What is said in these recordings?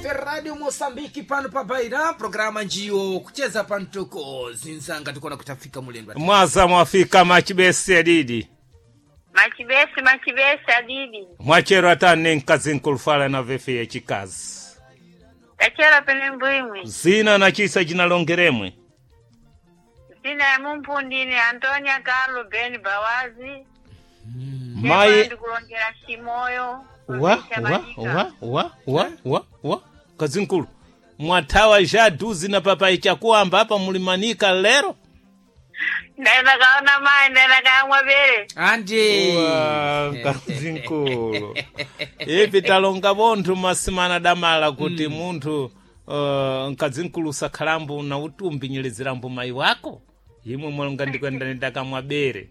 Radio Moçambique pano pa Baira, programa njiyo kucheza pantoko zinzanga tikona kutafika mulendo. Mwaza mwafika machibese adidi. Machibese machibese adidi. Mwachero atane nkazi nkulufala na vefe ya chikazi. Tachera pene mbwimwi. Zina na chisa jinalongeremwe. Zina ya mumpundini Antonia Carlo Ben Bawazi. Mai ndikulongera Chimoyo. wa wa wa wa wa wa wa kazinkulu mwathawa ja duzi na papai chakuamba apa mulimanika lero. Ndaenda kaona mai ndaenda kaamwa bere. Andi. Wa, kazinkulu ipi talonga bonthu masimana damala kuti munthu mkazinkulu usakhalambo na utumbi nyelezerambo mayi wako imwe mwalonga ndikwenda ndakamwa bere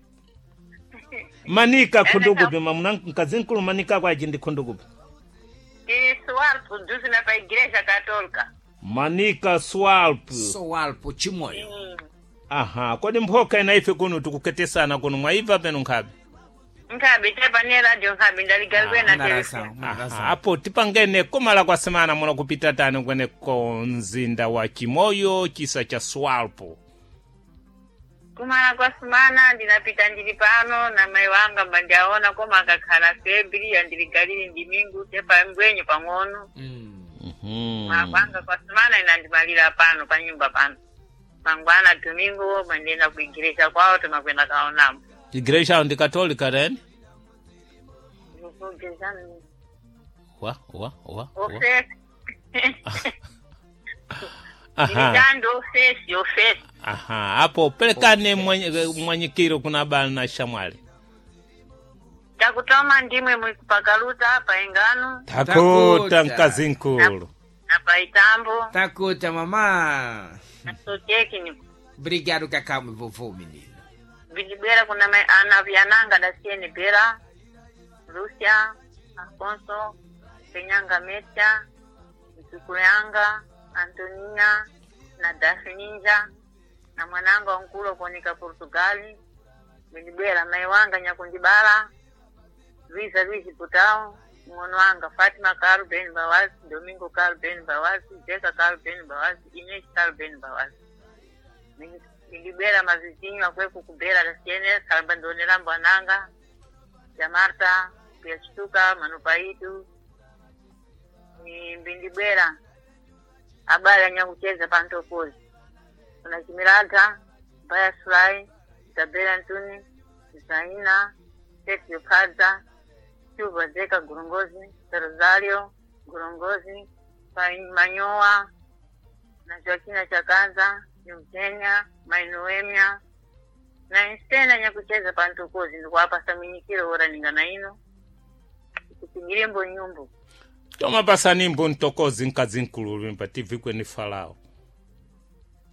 manika khundukupi mamuna mkazinkulu manika kwaji ndi khundukupi Tiri Swalpo duzi na pa Igreja Católica. manika swalp So alpo Chimoyo. Aha, kodi mphoka ina ife kuno tikuketesana kuno mwaibva peno nkhabe. Nkhabe tepa ne radio nkhabe ndaligalwe na Munarasa, telefoni. munarasa. Aha, apo tipangene komala kwa semana muno kupita tani kweneko mzinda wa Chimoyo chisa cha Swalpo. Kumala kwa sumana ndinapita ndili pano na mai wanga mbandiaona koma akakhala febri andiligalili ndimingu tepa mbwenyu pang'ono. Mm. Mapanga kwa sumana inandimalira pano pa nyumba pano. Mangwana domingo mandienda ku igreja kwawo timakwenda kaonamo. Igreja ndi Katolika then? Wa wa wa. Wa. Ofesi. Aha. Nditando ofesi ofesi. Aha, apo pelekane mwanyikiro kuna bala na shamwali. Takutoma ndimwe mwikupakaluta pa ingano Takuta Takuta. mkazinkulu. na pa itambo Takuta mama. na sotekini. Obrigado kakamwe vovô menino. Vilibwera kuna mai ana vyananga dasieni bera Lucia Afonso Penyanga Metia Mtukulu yanga Antonia na Dafininja na mwananga wankulo kuoneka Portugali vilibwera mai wanga Nyakundibala Luiza Luiz Putao mng'ono wanga Fatima Karu Ben Bawazi Domingo Karu Ben Bawazi Jeka Karu Ben Bawazi Ines Karu Ben Bawazi nilibera mavizinyo akweku kubera lasiene salba ndonera mbwananga ya Marta kuyachituka manupaitu ni mbindibwera abali anyakucheza pantokozi kuna chimiradha mbaya sulai isabela ntuni zaina tetio padza chuva zeka gorongozi rosario gorongozi manyowa na Joaquina Chakanza Eugenia Mainoemia na insena nyakucheza pantokozi ndikuwapasa minyikiro ora ningana ino kupingilembo nyumbu Toma pasanimbo ntokozi mkazinkulu limba TV kweni falao.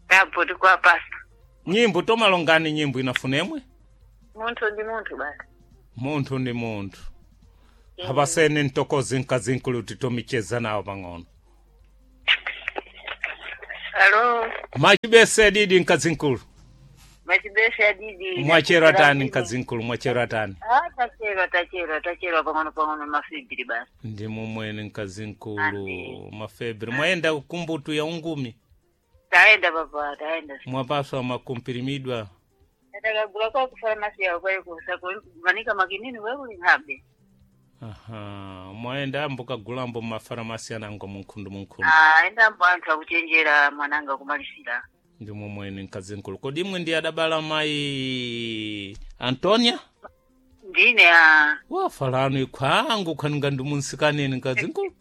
apo tikuwapasa Nyimbo tomalongani nyimbo inafunemwe? munthu ndi munthu basi. Munthu ndi munthu. Apasene ntokozi mkazinkulu titomicheza nawo pang'ono. Alo. Machibese didi mkazinkulu. Machibese adidi. Mwachero atani mkazinkulu mwachero atani. Ah, tachero tachero tachero pang'ono pang'ono mafibiri basi. Ndi mumwene mkazinkulu Andi. mafebri. Mwayenda kumbutu ya ungumi. Taenda papa taenda. Mwapaswa makumpirimidwa. Atakagula kwa kufarmasi yawo kwaikumanika makinini kwekulinhabe. Aha, mwayenda ambo kagulambo mafaramasi anango munkhundu munkhundu. Ah, enda mbo anthu akuchenjera mwananga kumalisira. Ndi mumwene mkazinkulu. Kodi imwe ndi adabala mayi Antonia? Ndine a Wafalano ikhwangu khaninga ndi munsikaneni mkazinkulu.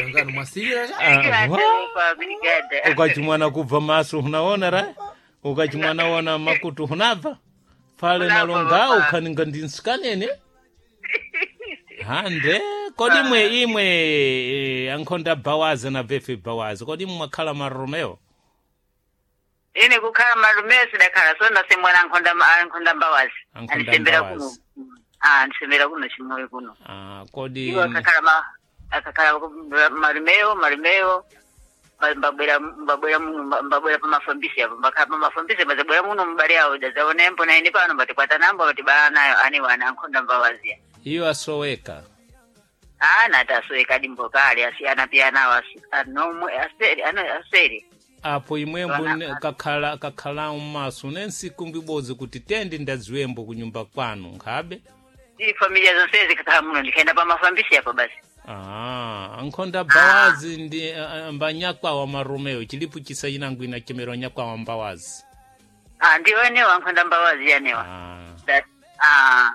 Ngano mwasirira cha? Ah, wa. pa brigada. Ukachimwana kubva maso unaona ra ukachimwana wona makutu hunabva fale Hunabva, nalonga baba. ukhaninga ndi nsikanene hande kodi imwe imwe ankhonda bawazi na vefe bawazi kodi imwe mwakhala maromeo Ine kukhala malume sidakhala so ndasemwana ankhonda ankhonda mbawazi. Ankhonda Andisembera kuno. Mbawazi. Ah, andisembera kuno chimoyo kuno. ah, kodi Iwo akakhala ma akakhala malumeyo malumeyo mbabwera mbabwera muno mbabwera pamafambisi apo mbakhala pamafambisi mbazabwera muno mbali awo dazaonembo na ine pano mbatikwata nambo batibala nayo ane wana ankhonda mbawazi. iyo asoweka. Ana tasweka dimbo kale asiyana pia nawo anomwe aseri ano aseri. Apo imwembo Wana- kakhala kakhala mmaso ne nsiku mbibodzi kuti tendi ndadziwembo kunyumba kwanu nkhabe. Ndi familia zonse zikakhala muno ndikaenda pamafambisi apo basi. Ah, ankhonda bawazi ndi mbanyakwawa maromeo chilipo chisayinangu inachemero nyakwawa mbawazi. Ah, ndiwo enewa ankhonda mbawazi yanewa. Ah. That ah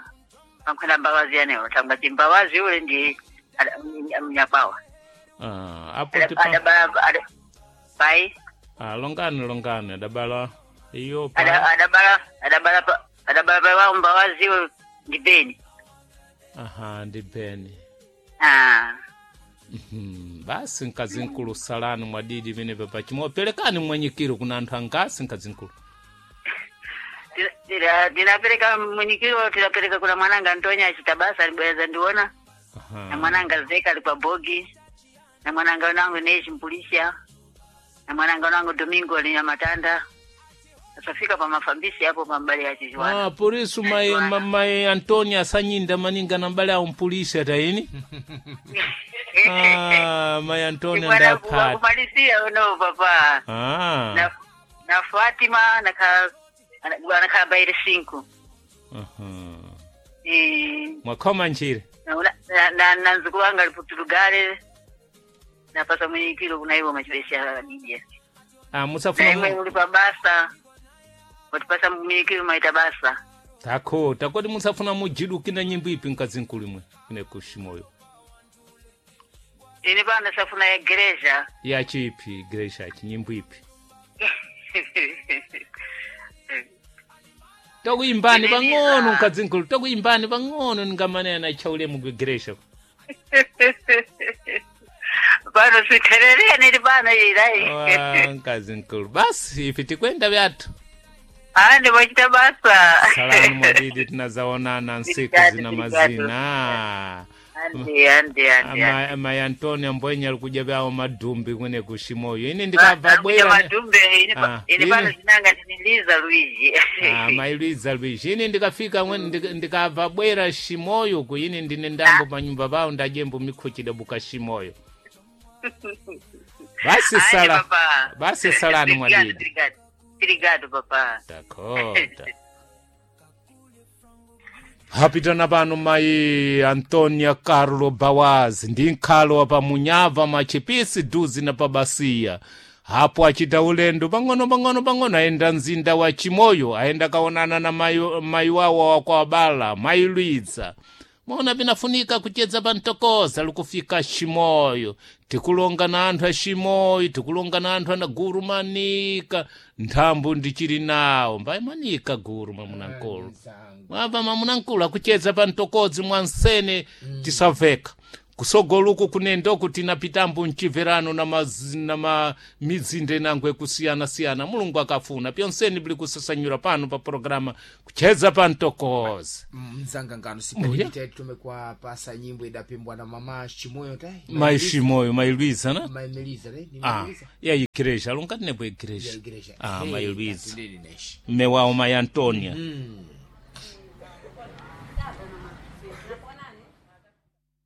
ankhonda mbawazi yanewa tanga timbawazi ule ndi mnyakwawa. Ah, apo tipa Adabala pai ah, longani longani adabala iyo pa adabala adabala adabala pai wawo mbawazi ule ndi beni. Aha, ndi beni. Ah. Basi nkazinkulu salani mwadidi pene pachimoyo pelekani mwanyikiro kuna anthu angasi nkazinkulu. Ndinapereka mwinikiro tinapereka kuna mwananga Antonia achitabasa alibweza ndiona na Aha. mwananga Zeka ali kwa bogi na mwananga wanangu Neshi Mpulisha na mwananga wanangu Domingo ali Nyamatanda asafika pa mafambisi hapo pa mbali ya Chiziwana. Ah, porisu mai, mai Antonia asanyinda maninga na mbale awo mpulisi ataini. Ah, mai Antonia ndapata. Kumalizia uno papa Ah. na Fatima na ka bairi 5. Aha. Eh Mwakhoma nchire. na nzukuru wanga aliputulugale napasa mwinikiro kuna iwo machibesha dija. Ah, musafuna Na imwe uli pa basa watipasa mwinikiro maita basa. Takho, takoti musafuna mujiduki na nyimbo ipi nkazinkulu imwe ine kushimoyo. Ine pano safuna ya gereja. Ya chipi igreja chi nyimbo ipi. Tokuimbani pang'ono nkazinkulu, tokuimbani pang'ono ningamanena chaulemu kuigreja. Pano siterere nili pano ilai. Wa nkazinkulu. Basi ife tikwenda vyathu. Ah, ndimachita basa. Salani mwadidi tinazaonana nsiku zina mazina. Andi andi andi. Mai Antonio mbwenya alikuja vyawo madhumbi kwene kushimoyo. Ine ndikabva Kuja bwera. madumbe ine Ah, ine pano ine- zinanga ndiniliza Luigi. Ah, mai Luiza Luigi. Ine ndikafika mwene ndikabva bwera shimoyo ku ine ndine ndambo panyumba pawo ndajembo mikhochida buka shimoyo. Basi Andi, sala. papa. Basi salani Obrigado, mwadidi. obrigado. Obrigado, papa. Dakota. Hapitana pano mai Antonia Carlo Bawazi ndi nkhalo wa pamunyava machipisi duzi na pabasiya hapo achita ulendo pang'ono pang'ono pang'ono ayenda mzinda wa Chimoyo ayenda kaonana na mai wawo wakwabala mai Luiza mona pinafunika kuchedza pantokoza likufika Chimoyo tikulonga na anthu a Chimoyo tikulonga na anthu ana guru manika nthambo ndichili nawo mbayi manika guru mwamunankulu mwabva mamunankulu akuchedza pantokodzi mwansene tisaveka kusogoluku kunendoku tinapitambo mchimverano na mamizinda inango ekusiyana-siyana mulungu akafuna pyonseni bili kusasanyura pano pa programa kuchedza pantokozi. Mzanga ngano Mbuya. sipelipita tumekwa pasa nyimbo idapimbwa na mama Chimoyo tai mai Shimoyo mai Luiza na mai Melisa tai ni ah, Melisa ya igreja alungati nepo igreja ya igreja. ah, Hey, mai Luiza atulili neshi. mme wawo mai Antonia.